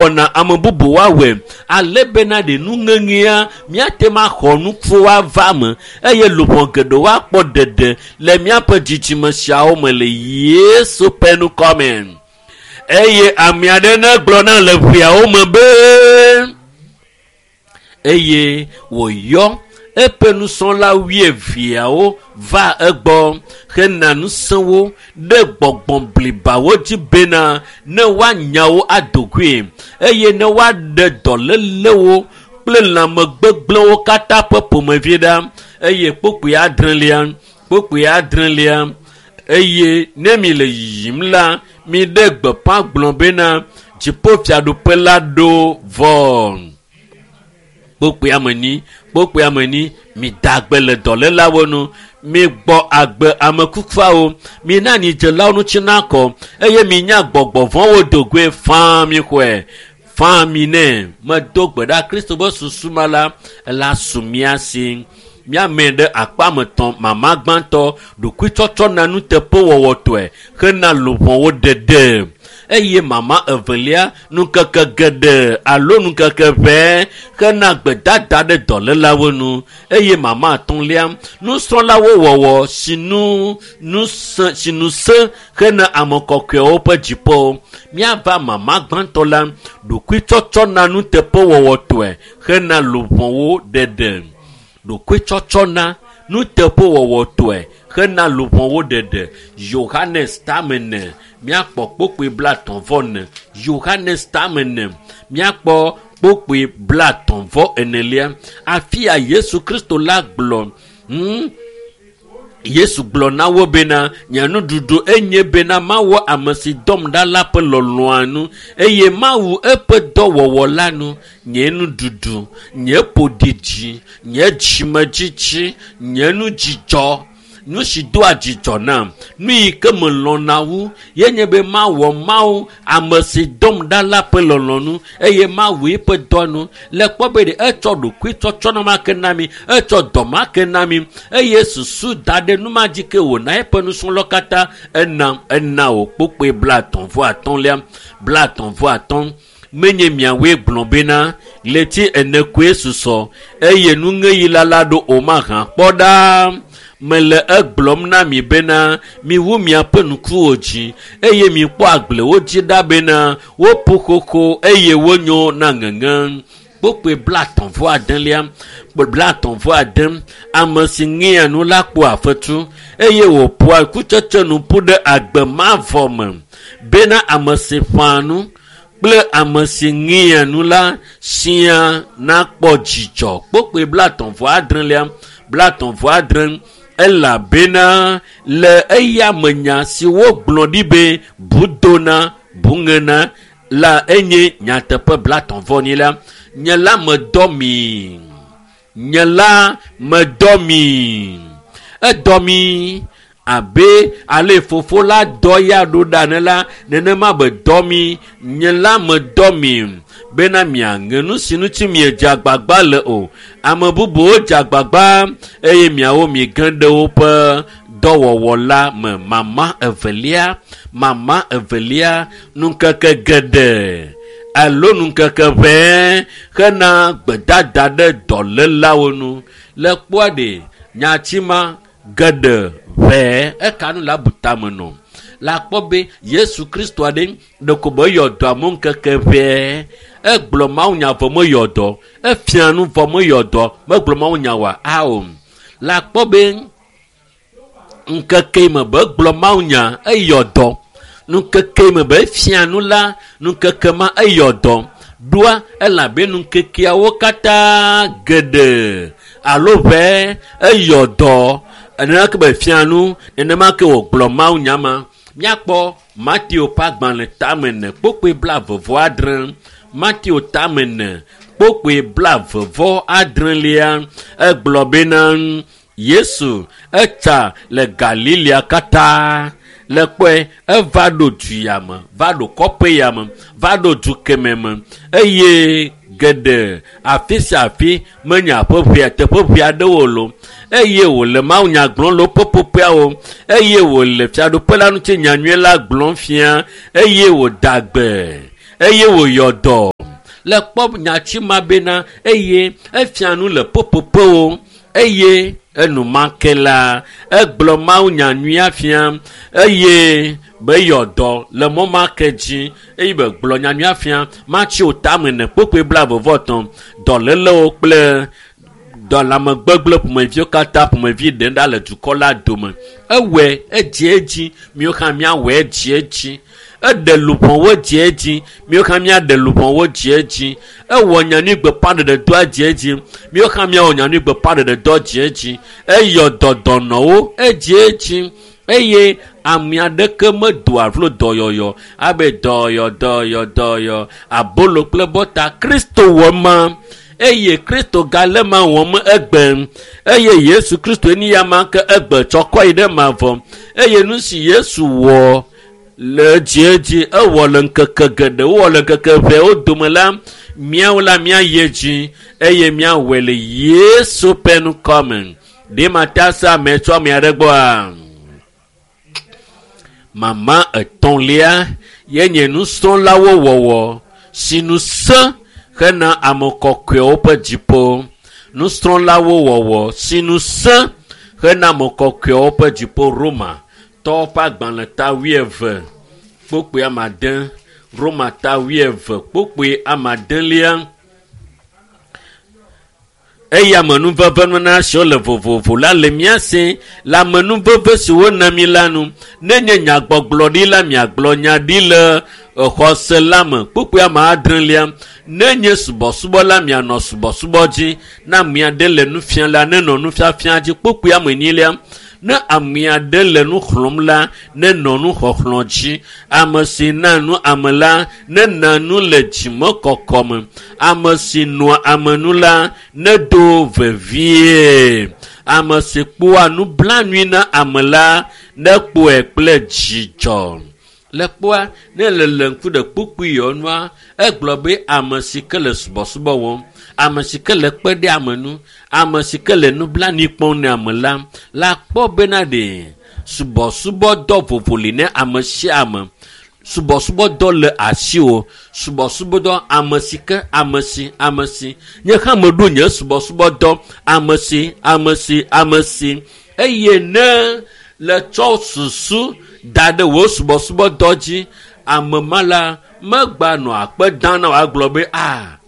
Wɔna ame bubu woawɔe ale bena ɖe nuŋeŋea míate ŋu axɔ nukuwo ava me eye luʋɔ geɖewo akpɔ ɖeɖe le míaƒe dzidzime siawo me le Yesu ƒe ŋkɔ me. Eye ame aɖe negblɔ na le ƒeawo me be eye wòyɔ eƒe nusrɔ̃la wuieveawo va egbɔ hena ŋusẽwo ɖe gbɔgbɔ blibawo dzi bena ne woanya wo ado goe eye ne woaɖe dɔlélewo kple lãmegbegblẽwo katã ƒe ƒomevi ɖa. Eye kpukpui adrelia, kpukpui adrelia, eye ne mi le yiyim la, miɖe gbeƒã gblɔ bena dziƒofiaɖuƒe la ɖo vɔ. Kpukpui ame kpukpui ame ni, mida agbe le dɔlélawo nu, migbɔ agbe ame kukuawo, mina nyidzelawo ŋuti nakɔ eye minya gbɔgbɔ vɔ̃wo dogoe faa mi xɔe faa mi nɛ. Medo gbe ɖa Kristo be susu ma la, ela su mía si. Míame ɖe akpa me tɔ̃ mama gbãtɔ ɖokuitsɔtsɔ na nuteƒewɔwɔtɔe hena luʋɔwo ɖeɖe eye mama evelia nukeke geɖe alo nukeke ʋɛ hena gbedada ɖe dɔlélawo nu eye mama atɔ̃lia nusrɔ̃lawo wɔwɔ sinu nusẽ sinu sẽ hena ame kɔkɔewo ƒe dziƒo. Míava mama gbãtɔ la ɖokuitsɔtsɔ na nuteƒewɔwɔtɔe hena luʋɔwo ɖeɖe. Ɖokuitsɔtsɔ na nuteƒewɔwɔtɔe hena luʋɔwo ɖeɖe. Yohanes tame míakpɔ kpukpui blatɔ̃ vɔ ene. Yohanes tame ene míakpɔ kpukpui blatɔ̃ vɔ enelia. Afi ya Yesu Kristo la gblɔ hmm, Yesu gblɔ na wo bena nye nuɖuɖu enye bena mawɔ ame si dɔm ɖa la ƒe lɔlɔ̃a nu eye mawu eƒe dɔwɔwɔ la nu. Nye nuɖuɖu, nye ƒoɖiɖi, nye dzimedzitsi, nye nudzidzɔ nu si doa dzidzɔ nam nu yi ke melɔ̃na wu ye nye be mawɔ Mawu ame si dɔm ɖa la ƒe lɔlɔ̃nu eye mawu eƒe dɔ nu. Le kpɔ be ɖe etsɔ ɖokuitsɔtsɔ na ma ke na mi, etsɔ dɔ ma ke na mi eye susu da ɖe nu ma dzi ke wòna eƒe nusrɔ̃lawo katã ena ena wò kpukpui blatɔ̃ vɔ atɔ̃lia blatɔ̃ vɔ atɔ̃ menye miawoe gblɔ bena ɣleti ene koe susɔ eye nuŋeɣi la la ɖo o mahã kpɔ ɖa. Mele egblɔm na mi bena miwu miaƒe ŋkuwo dzi eye mikpɔ agblewo dzi ɖa bena woƒu xoxo eye wonyo na ŋeŋe. Kpukpui blatɔ̃ vɔ adelia blatɔ̃ vɔ ade ame si ŋea nu la kpɔa fetu eye wòƒoa kutsetse nu ƒu ɖe agbe mavɔ me bena ame si ƒãa nu kple ame si ŋea nu la siaa nakpɔ dzidzɔ. Kpukpui blatɔ̃ vɔ adrelia blatɔ̃ vɔ adre elabena le eya me nya si wogblɔ ɖi be bu dona bu ŋena la enye nyateƒe blatɔ̃ vɔ nyi la nye la medɔ mi nye la medɔ mi edɔ mi abe ale fofo la dɔ ya ɖo ɖa ne la nenema be dɔ mi nye la medɔ mi bena miaŋe nu si ŋuti miedze agbagba le o. Ame bubuwo dze agbagba eye miawo mige ɖe woƒe dɔwɔwɔ la me. Mama evelia, mama evelia, nukeke geɖe alo nukeke ʋɛ hena gbedada ɖe dɔlélawo nu. Le kpɔa ɖe nyati ma geɖe ʋɛ eka nu le abu tame nɔ. Le akpɔ be Yesu Kristo aɖe ɖeko be eyɔ dɔ amewo ŋkeke ʋɛ. Egblɔ mawunya vɔ meyɔ dɔ, efia nu vɔ meyɔ dɔ, megblɔ mawunya wa ao. Le akpɔ be ŋkeke yi me be egblɔ mawunya eyɔ dɔ. Ŋkeke yi me be efia nu la, ŋkeke ma eyɔ dɔ. Ɖoa elabe ŋkekeawo katã geɖe alo ʋɛ eyɔ dɔ. Nenema ke be fia nu, nenema ke wògblɔ mawunya ma. Míakpɔ Mateo ƒe agbalẽ tame ene kpukpui blaeve vɔ adre. Mateo tame ene kpukpui blaeve vɔ adrelia egblɔ bena Yesu etsa le Galilea katã. Le kpɔe eva ɖo du ya me, va ɖo kɔƒe ya me, va ɖo du kemɛ me eye geɖe afi sia afi menye aƒe ʋɛ teƒe ʋɛ aɖewo lo eye wòle mawunya gblɔm le woƒe ƒoƒoeawo eye wòle fiaɖuƒe la ŋuti nyanyui la gblɔm fia eye wòda gbe eye wòyɔ dɔ. Le kpɔ nyatsi ma bena eye efia nu le popopowo eye enumake la egblɔ Mawu nyanyuia fia eye be yɔ dɔ le mɔ ma ke dzi eye be gblɔ nyanyuia fia matsi o tame ne kpokpoe 23 dɔlélewo kple dɔlamegbegble ƒomeviwo katã ƒomevi ɖe ɖa le dukɔ la dome. Ewɔe edzi edzi miwo hã miawɔe edzi edzi. Eɖe luʋɔwo dzi edzi miwo hã miaɖe luʋɔwo dzi edzi. Ewɔ nyanyui gbeƒãɖeɖedɔa dzi edzi miwo hã miawɔ nyanyui gbeƒãɖeɖedɔ dzi edzi. Eyɔ dɔdɔnɔwo edzi edzi eye ame aɖeke medoa vlo dɔyɔyɔ abe dɔyɔ dɔyɔ dɔyɔ abolo kple bɔta. Kristo wɔ ma eye Kristo gale ma wɔm egbe eye Yesu Kristo ni ya ma ke egbe tsɔ kɔ yi ɖe mavɔ eye nu si Yesu wɔ le edzi edzi ewɔ le ŋkeke geɖewo wɔ le ŋkeke ʋɛwo dome la míawo la míayi edzi eye míawɔe le Yesu ƒe ŋkɔ me. Ɖe mate ase ame tso ame aɖe gbɔa? Mama etɔ̃lia ye nye nusrɔ̃lawo wɔwɔ si nu sẽ hena ame kɔkɔewo ƒe dziƒo. Nusrɔ̃lawo wɔwɔ si nu sẽ hena ame kɔkɔewo ƒe dziƒo. Roma tɔwo ƒe agbalẽ ta 20 kpokpoe amade. Roma ta 20 kpokpoe amadelia. Eye amenuveve nunana siwo le vovovo la le mía si le amenuveve si wona mi la nu. Nenye nyagbɔgblɔ ɖi la miagblɔ nya ɖi le xɔse la me. Kpokpoe ame adrelia. Nenye subɔsubɔ la mianɔ subɔsubɔ dzi. Ne ame aɖe le nu fiam la nenɔ nufiafia dzi. Kpokpoe ame enyilia. Ne ame aɖe le nu xlɔ̃m la nenɔ nuxɔxlɔ̃ dzi. Ame si na nu ame la nena nu le dzimekɔkɔ me. Ame si nɔa ame nu la nedo vevie. Ame si kpɔa nublanui na ame la nekpɔe kple dzidzɔ. Le kpɔa ne le le ŋku ɖe kpukpui yɔnua egblɔ be ame si ke le subɔsubɔ wɔm, ame si ke le kpe ɖe ame nu, ame si ke le nublanui kpɔm ne ame la la kpɔ bena ɖe subɔsubɔdɔ vovo li ne ame sia ame. Subɔsubɔdɔ le asiwò. Subɔsubɔdɔ ame si ke ame si ame si. Nye hã meɖo nye subɔsubɔdɔ ame si ame si ame si. Eye ne le tsɔ susu da ɖe wò subɔsubɔdɔ dzi ame ma la megba nɔ akpe dam na wòagblɔ be a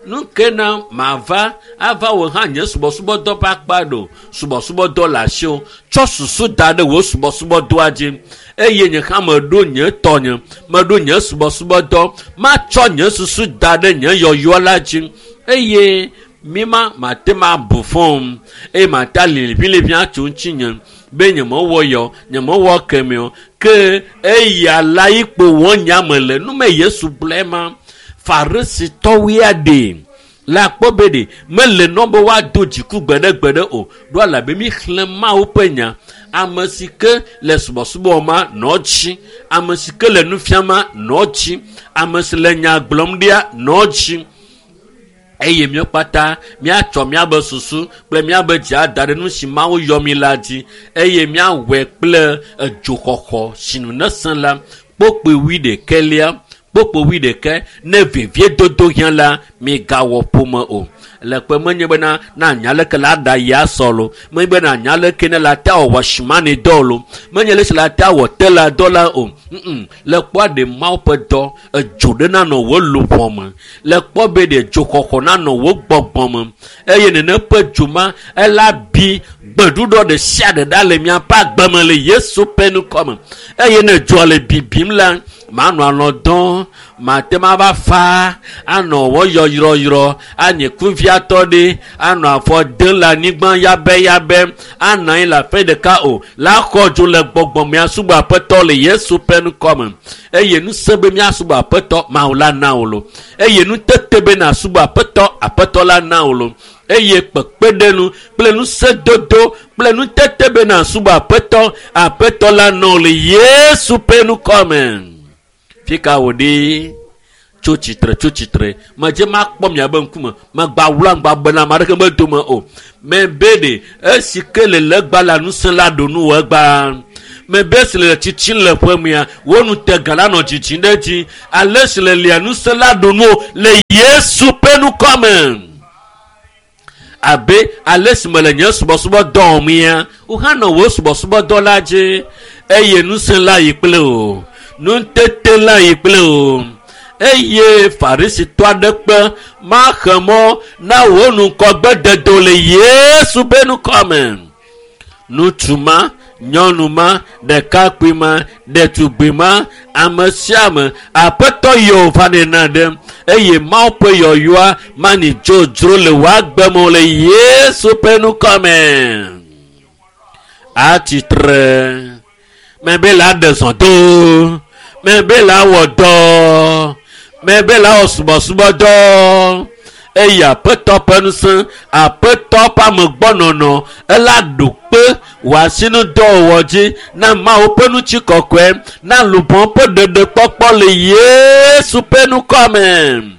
nu ke na mava ava wò hã nye subɔsubɔdɔ ƒe akpa ɖo. Subɔsubɔdɔ le asiwò. Tsɔ susu da ɖe wò subɔsubɔdɔa dzi eye nye hã meɖo nye tɔnye meɖo nye subɔsubɔdɔ matsɔ nye susu da ɖe nye yɔyɔ la dzi eye mima mate ma bu fɔm eye mate aliliʋiliʋi atso ŋutinye be nyemewɔ yɔ nyemewɔ kemɛ o ke eya la yi kpo wɔ nyame le nume Yesu gblɔe ma. Farisitɔwoe aɖe la kpɔ be ɖe mele nɔ be woado dziku gbeɖegbeɖe o ɖo alabe mi xlẽ Mawu ƒe nya. Ame si ke le subɔsubɔ ma nɔ dzi, ame si ke le nufiam ma nɔ dzi, ame si le nya gblɔm ɖia nɔ dzi. Eye míawo kpata míatsɔ míabe susu kple míabe dzi ada ɖe nu si Mawu yɔ mi la dzi eye míawɔe kple edzoxɔxɔ si nu nesẽ la. Kpokpoe 21 kpokpoe 21 ne veviedodo hiã la migawɔ ƒome o. Le kpe menye bena na anya leke la ɖa ya sɔ lo, menye bena anya leke ne la ta wɔ simani dɔ lo, menye le si la ta wɔ tela dɔ la o. Le kpɔa ɖe Mawu ƒe dɔ edzo ɖe nanɔ wò luʋɔ me. Le kpɔ be ɖe dzoxɔxɔ nanɔ wò gbɔgbɔ me eye nene ƒe dzo ma ela bi gbeɖuɖɔ ɖe sia ɖe ɖa le miaƒe agbe me le Yesu ƒe ŋkɔ me. Eye ne dzoa le bibim la manɔ alɔ dɔm, mate ma va fa anɔ wɔ yɔyrɔyrɔ anye kuviatɔ ɖe anɔ afɔ dem le anyigba yabɛyabɛ anɔ anyi le aƒe ɖeka o la xɔ dzo le gbɔgbɔ me asubɔ Aƒetɔ le Yesu ƒe ŋkɔ me. Eye ŋusẽ be míasubɔ Aƒetɔ Mawu la na wò lo. Eye nutete be nàsubɔ Aƒetɔ Aƒetɔ la na wò lo. Eye kpekpeɖeŋu kple ŋusẽdodo kple nutete be nàsubɔ Aƒetɔ Aƒetɔ la na wò le Yesu ƒe ŋkɔ me. Fika wò ɖi? Tso tsitre, tso tsitre. Medze makpɔ miabe ŋkume. Megba wla ŋgba bena ame aɖeke medome o. Mebe ɖe esi ke le legba la ŋusẽ la ɖo nu wò egbea. Mebe si le tsitsim le ƒe mea, wò ŋutega la nɔ dzidzim ɖe edzi. Ale si le lia ŋusẽ la ɖu nu le Yesu ƒe ŋkɔ me. Abe ale si mele nye subɔsubɔdɔ wɔm ya, wò hã nɔ wò subɔsubɔdɔ la dzi eye ŋusẽ la yi kple wò, nutete la yi kple wò. Eye Farisitɔ aɖe kpe maxe mɔ na wò ŋgɔgbededo le Yesu ƒe ŋkɔ me. Ŋutsu ma, nyɔnu ma, ɖekakpui ma, ɖetugbui ma, ame sia ame, Aƒetɔ yɔ va nɛ na ɖe eye Mawu ƒe yɔyɔa mani dzodzro le wò agbe me o le Yesu ƒe ŋkɔ me. Atsitre. Mebe la ɖe zɔ do. Mebe la wɔ dɔ. Mebe la wɔ subɔsubɔdɔ. Eye Aƒetɔ ƒe ŋusẽ, Aƒetɔ ƒe amegbɔnɔnɔ, ela ɖo kpe wò asinudɔwɔwɔ dzi na Mawu ƒe ŋutikɔkɔe, na luʋɔ ƒe ɖeɖekpɔkpɔ le Yesu ƒe ŋkɔ me.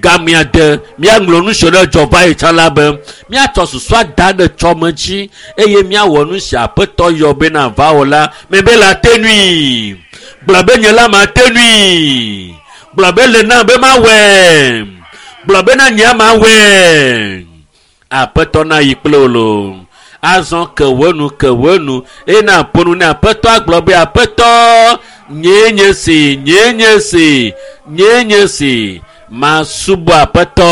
Gamea de míaŋlɔ nu si ɖe dzɔ va yi tsã la be míatsɔ susua da ɖe tsɔme dzi eye míawɔ nu si Aƒetɔ yɔ bena va wɔ la mebe la te nui. Gblɔ be nye la mate nui. Gblɔ be le nam be mawɔe. Gblɔ bena nye mawɔe. Aƒetɔ na yi kple wò loo. Azɔ ke wò nu, ke wò nu eye na ƒo nu ne Aƒetɔ agblɔ be Aƒetɔ, nyee nye si, nyee nye si, nyee nye si, masubɔ Aƒetɔ.